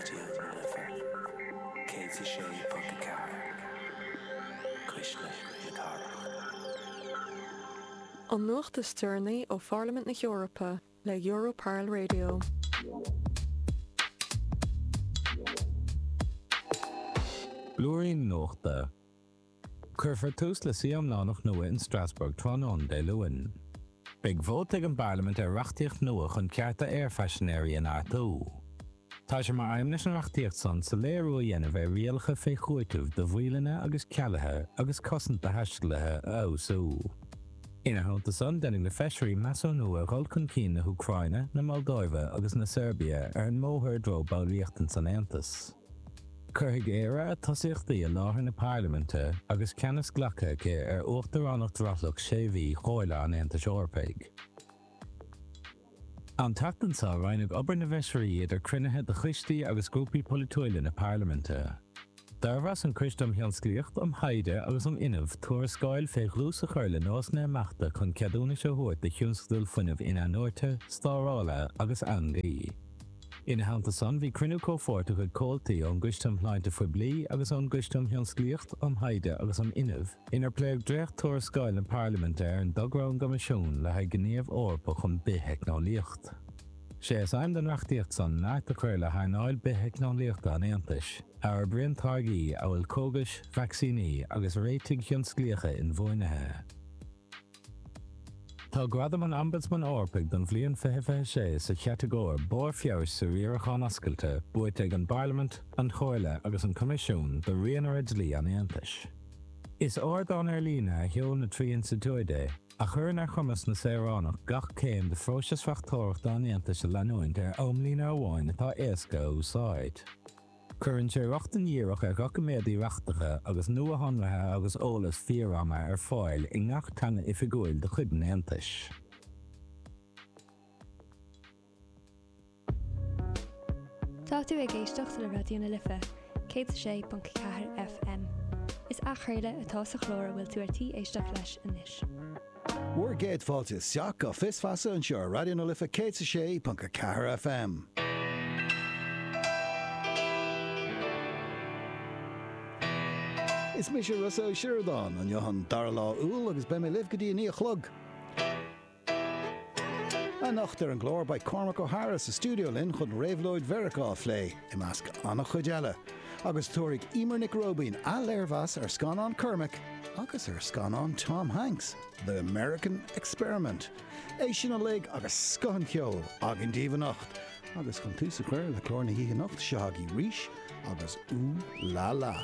Raidió na Life 106.4, Cuisle na Cathrach. An nuacht is deireanaí ó Pharlaimint na hEorpa le Europarl Radio. Blúirín Nuachta. Cuirfear tús le suí iomlánach nua in Strasbourg tráthnóna Dé Luain. Beidh vóta ag an bParlaimint ar reachtaíocht nua chun cearta aerphaisinéirí a neartú. Tá sé mar aidhm leis an reachtaíocht san soiléiriú a dhéanamh ar rialacha fé chúiteamh do mhoilleanna agus cealuithe agus cosaint do thaistealaithe a fheabhsú. Ina theannta san, déanfaidh na feisirí measúnú ar dhul chun cinn na hÚcráine, na Moldóive agus na Seirbia ar an mbóthar i dtreo ballraíocht san Aontas. Cuirfidh Éire a tosaíochtaí i láthair na Parlaiminte agus ceannas glactha aici ar uachtaránacht rothlach sé mhí Chomhairle an Aontais Eorpaigh. An tseachtain seo, roinneadh obair na bhfeisirí idir cruinnithe de choistí agus grúpaí polaitiúila na Parlaiminte. D'fhormheas an Coiste um Thionsclaíocht, um Thaighde agus um Fhuinneamh tuarascáil fé dhlús a chur le nósanna imeachta chun ceadúnais a thabhairt do thionscadail fuinnimh in-athnuaite, stórála agus eangaí. Ina theannta san, bhí cruinniú comhpháirteach ag comhaltaí ón gCoiste um Shláinte Phoiblí agus ón gCoiste um Thionsclaíocht, um Thaighde agus um Fhuinneamh, inar pléadh dréacht-tuarascáil na Parlaiminte ar an dtogra ón gCoimisiún le haghaidh Gníomh Eorpach um Bith-Theicneolaíocht. Sé is aidhm don reachtaíocht san neart a chur le hearnáil bith-theicneolaíochta an Aontais, a fhorbraíonn táirgí amhail cógais, vacsaíní agus réitigh thionsclaíocha inbhuanaithe. Tá Gradam an Ombudsman Eorpaigh don bhliain 2026 sa chatagóir 'Barr Feabhais sa Riarachán Oscailte' buaite ag an bParlaimint, an Chomhairle agus an Coimisiún do Rianaire Dlí an Aontais. Is ardán ar líne a sheol na trí institiúid é, a chuireann ar chumas na saoránach gach céim de phróiseas reachtóireachta an Aontais a leanúint ar amlíne amháin atá éasca a úsáid. Cuireann sé rochtain dhíreach ar dhoiciméadaí reachtacha agus nuashonruithe agus eolas fíor-ama ar fáil i ngach teanga oifigiúil de chuid an Aontais. Tá tú ag éisteacht le Raidió na Life 106.4 FM. Is athchraoladh atá sa chlár a bhfuil tú ar tí éisteacht leis anois. Bhur gcéad fáilte isteach go Fios Feasa anseo ar Raidió na Life 106.4 FM. Is mise Rossa Ó Sioradáin, inniu an dara lá Iúil agus beidh mé libh go dtí a 9 a chlog. Anocht ar an gclár beidh Cormac O'Hara sa stiúideo linn chun réabhlóid Mheiriceá a phlé, i measc an-chuid eile. Agus tabharfaidh Eimear Nic Róibín athléirmheas ar scannán Cormac agus ar scannán Tom Hanks, The American Experiment. É sin uilig agus scoth an cheoil againn daoibh anocht. Agus chun tús a chur le clár na hoíche anocht, seo agaibh Rís agus Ooh La La.